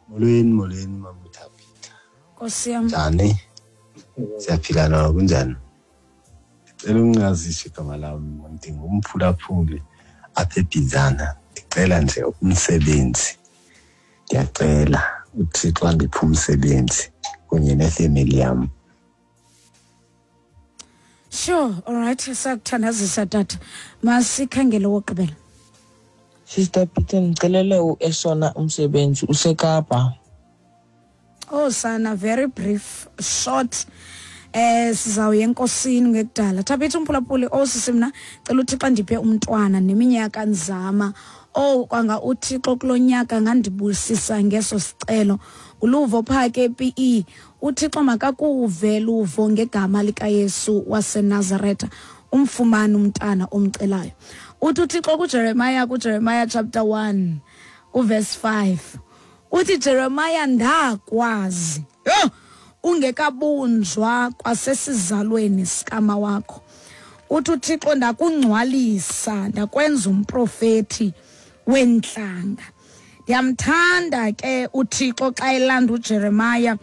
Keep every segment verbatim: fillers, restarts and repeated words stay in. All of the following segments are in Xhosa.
Molweni, molweni mama uThabitha. Nkosi yam. Njani? Siyaphila na kunjani? Ndicela ungazisho igama lam, ndingumphulaphuli apha eBizana. Ndicela nje umsebenzi. Ndiyacela uThixo andiphe umsebenzi kunye nefemeli yam. Sure, all right, sakuthandazisa tata. Masikhangele wokugqibela. Sister Peter, ndicelele uEsona umsebenzi useKapa. Oh sana, very brief, short. Eh sizawuya enkosini ngekudala. Thabitha umphulaphuli, oh sisi mna cela uThixo andiphe umntwana neminyaka nzama. Oh kwanga uThixo kulonyaka ngandibusisa ngeso sicelo. Uluvo phake P E. uThixo makakuve luvo ngegama likaYesu waseNazaretha. Umfumane umntana omcelayo. Uthi uThixo kuJeremiah, kuJeremiah chapter one uverse five. Uthi Jeremiah ndakwazi. Yho, ungekabunjwa kwasesizalweni sikama wakho. Uthi uThixo ndakungcwalisa, ndakwenza umprofeti wentlanga. Ndiyamthanda ke uThixo xa elanda uJeremiah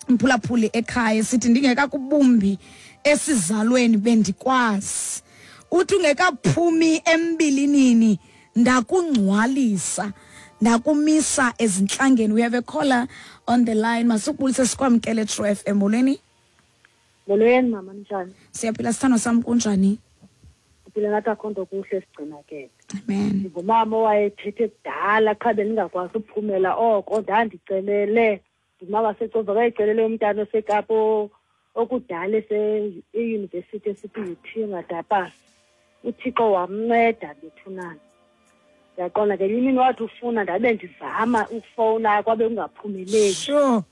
mphulaphuli ekhaya sithi ndingekakubumbi esizalweni bendikwazi. Uthi ungekaphumi embilinini ndakungcwalisa, ndakumisa ezintlangeni. We have a caller on the line. Masukubulise sikwamkele True F M. Molweni. Molweni mama, njani? Siyaphila sithando sam, kunjani? Siphila ngathi akho nto kuhle sigcinakele. Amen. Ndingumama owayethethe kudala qha bendingakwazi uphumela oko ndandicelele. Ndingumama seCova kayicelele umntana oseKapa okudala ese-university esithi U T ngadapasa. uThixo wamnceda bethunana. Ndiyaqonda ngenye imini wathi ufuna ndabe ndizama ukufowuna kwabe kungaphumeleli. Sure.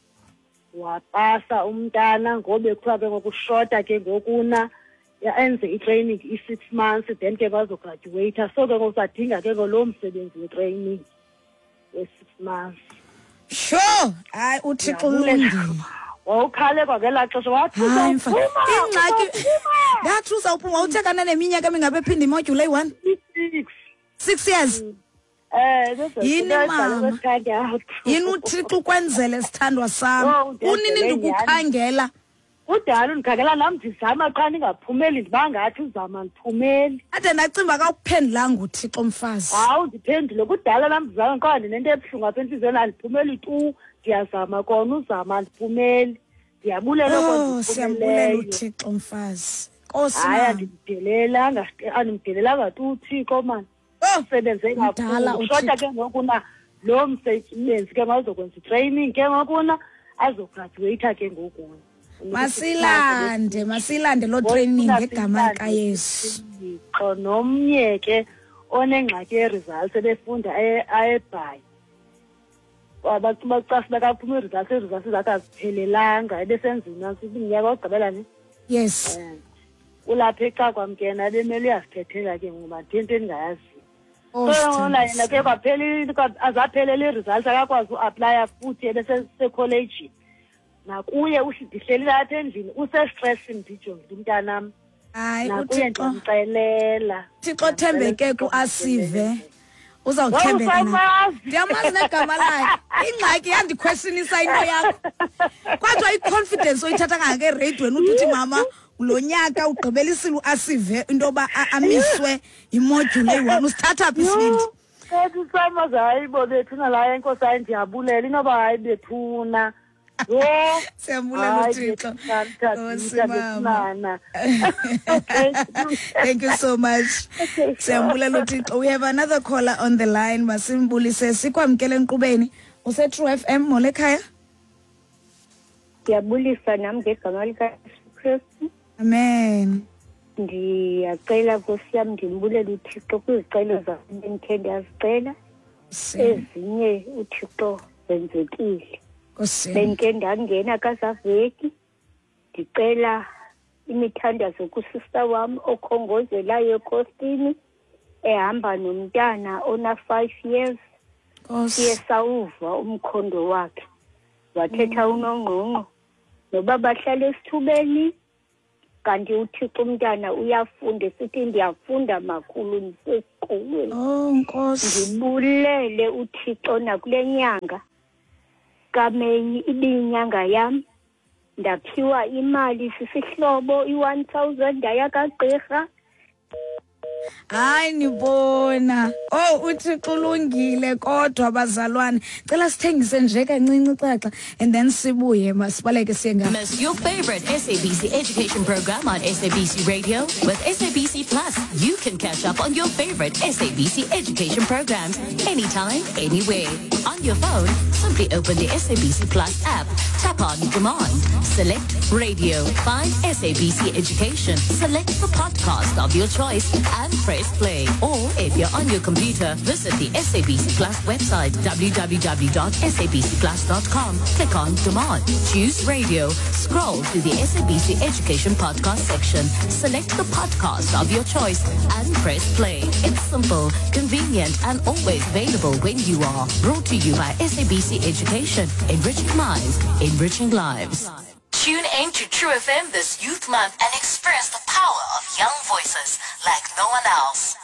Wapasa umntana ngobe kuthiwa ke ngokushota ke ngokuna enze i-training i-six months then ke bazograduate. So ke ngoku sadinga ke ngolo msebenzi we-training we-six months. Sure. Hayi uThixo ulungile. Wawukhale kwagelaa xesha wathi uzawuphuma. Ingxaki ndathi uzawuphuma uthekana neminyaka emingaphi ephinda imodyuli eyi-one? Six. Six years. Eh, yini mama? Yini uThixo ukwenzele sithandwa sam? Unini ndikukhangela? Kudala undikhangela nam ndizama qha ndingaphumeli, ndiba ngathi uzama ndiphumeli. Ade ndacimba akakuphendulanga uThixo mfazi. Hawu ndiphendule kudala nam ndizama qha ndinento ebuhlungu apha entliziyweni andiphumeli tu. Ndiyazama kona uzama andiphumeli. Ndiyabulela oh, siyambulela uThixo mfazi. Nkosi. Hayi andimdelelanga, andimdelelanga tu uThixo man. Usebenze kakhulu. Shota ke ngokuna lo msebenzi ke mawuzokwenza i-training ke ngokuna azograduate ke ngokuna. Masilande, masilande lo training ngegama likaYesu. Thixo nomnye ke onengxaki ye-results ebefunda eBhayi. Bacasa bakaphuma i-results, i-results zakhe aziphelelanga ebesenzima iminyaka yokugqibela ne. Yes. Ulapha eCakwamkena ebemele uyazithethela ke ngoba into endingayaziyo. So yena ke kwaphela azaphelela i-results akakwazi uaplaya futhi ebesesekholeji. Nakuye ndihleli apha endlini usestressini ndijongile umntanam. Hayi uThixo ndimcelela. Thixo thembeke kuAsive. Uzawuthembeka na. Ndiyamazi negama lakhe. Ingxaki yandiquestionisa into yakho. Kwathiwa i-confidence oyithatha kangaka ereyidweni uthi uthi mama lo nyaka ugqibelisile uAsive into yoba amiswe imodyuli eyi-one. Usithatha phi isibindi? Ethi samazi hayi bo bethuna la enkosi hayi ndiyabulela inoba hayi bethuna. Siyambulela uThixo. Nkosi mama. Thank you so much. Siyambulela uThixo. We have another caller on the line. Masimbulise sikwamkele enkqubeni. Use True F M mole ekhaya. Ndiyabulisa nam ngegama likaYesu Kristu. Amen. Ndiyacela Nkosi yam ndimbulela uThixo kwizicelo zam bendithe ndiyazicela. Ezinye uThixo zenzekile. Bendike ndangena kazaveki ndicela imithandazo kusista wam okhongozelayo ekhosini ehamba nomntana ona five years. Siye sawuva umkhondo wakhe wathetha unongqongqo noba bahlala esithubeni kanti uThixo umntana uyafunda esithi ndiyafunda makhulu ndisesikolweni. Oh Nkosi, ndibulele uThixo nakule nyanga kaMeyi ibiyinyanga yam, ndaphiwa imali sisihlobo i-one thousand ndaya kagqirha. Hayi nibona. Oh uThixo ulungile kodwa bazalwane. Cela sithengise nje kancinci caca and then sibuye masibaleke siye nga. Miss your favorite S A B C education program on S A B C Radio. With S A B C Plus, you can catch up on your favorite S A B C education programs anytime, anywhere. On your phone, simply open the S A B C Plus app, tap on Demand, select Radio, find S A B C Education, select the podcast of your choice and press play. Or if you're on your computer, visit the S A B C Plus website, w w w dot s a b c plus dot com. Click on Demand, choose Radio, scroll to the S A B C Education podcast section, select the podcast of your choice and press play. It's simple, convenient and always available when you are. Brought to you by S A B C Education, enriching minds, enriching lives. Tune in to True F M this Youth Month and experience the power of young voices like no one else.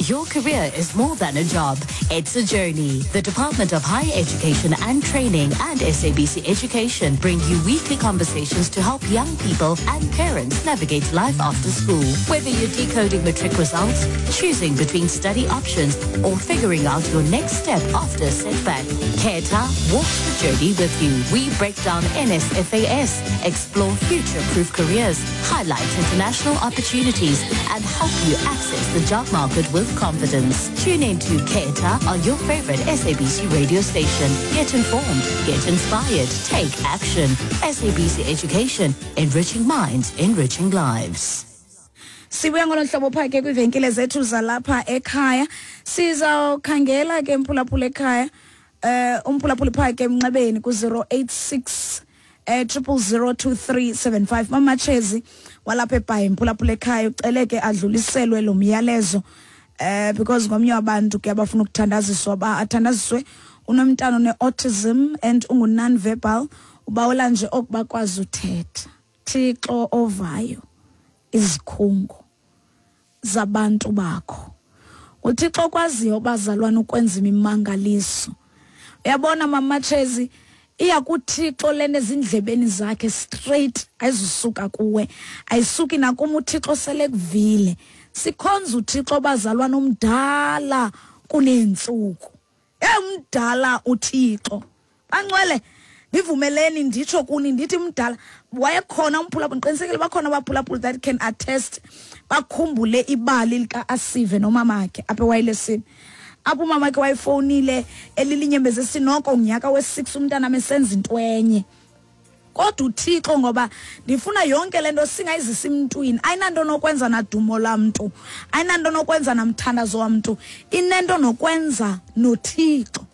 Your career is more than a job. It's a journey. The Department of Higher Education and Training and S A B C Education bring you weekly conversations to help young people and parents navigate life after school. Whether you're decoding matric results, choosing between study options, or figuring out your next step after a setback, Keta walks the journey with you. We break down N S F A S, explore future-proof careers, highlight international opportunities, and help you access the job market with confidence. Tune in to Keta on your favorite S A B C radio station. Get informed, get inspired, take action. S A B C Education, enriching minds, enriching lives. Sibuya ngolo hlobo phake kwivenkile zethu zalapha ekhaya. Sizawukhangela ke mphulaphula ekhaya. Eh umphulaphula phake emnxebeni ku zero eight six triple zero two three seven five. Mama Chezi walapha eBhayi mphulaphula ekhaya ucele ke adluliselwe lo myalezo. Eh because ngomnye wabantu ke abafuna ukuthandaziswa ba athandaziswe unomntana one-autism and ungu non-verbal ubawela nje okubakwazi uthetha. Thixo ovayo izikhungo zabantu bakho. uThixo okwaziyo bazalwana ukwenza imimangaliso. Uyabona Mama Chezi, iya kuThixo lena ezindlebeni zakhe straight, ayizusuka kuwe, ayisuki nakum. uThixo sele kuvile. Sikhonza uThixo bazalwana omdala kunentsuku. Emdala uThixo. Bangcwele, ndivumeleni nditsho kuni ndithi mdala wayekhona umphulaphuli, ngiqinisekile bakhona abaphulaphuli that can attest, bakhumbule ibali lika Asive nomamakhe apha ewayilesini. Apho umamakhe wayefonile elilinyembeze sinoko ngonyaka we-six umntana mesenza into enye. Kodwa uThixo, ngoba ndifuna yonke lento singayizisa emntwini, ayinanto nokwenza nadumo lamntu, ayinanto nokwenza namthandazo wamntu, inento nokwenza noThixo.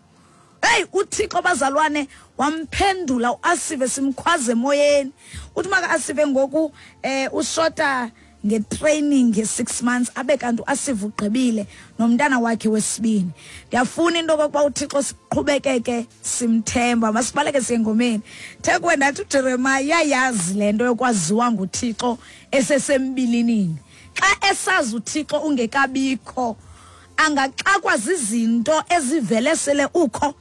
Hey, uThixo bazalwane wamphendula uAsive simkhwaze emoyeni. Uthi maka Asive ngoku eh ushota ngetraining nge-six months abe kanti uAsive ugqibile nomntana wakhe wesibini. Ndiyafuna into yokokuba uThixo siqhubekeke simthemba. Masibaleke siye engomeni. Thekwe ndathi uJeremiah uyayazi le nto yokwaziwa nguThixo esesembilinini. Xa esazi uThixo ungekabikho, angaxakwa zizinto ezivele sele ukho.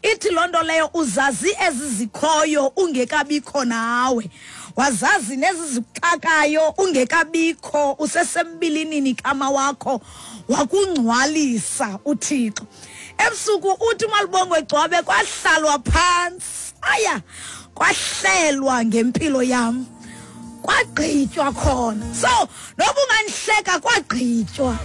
Ithi loo nto leyo uzazi ezizikhoyo ungekabikho nawe, wazazi nezizixakayo ungekabikho, usesembilinini kama wakho, wakungcwalisa uThixo. Ebusuku uthi uMalibongwe Gcwabe kwahlalwa phantsi, aya kwahlelwa ngempilo yam, kwagqitywa khona. So noba ungandihleka, kwagqitywa.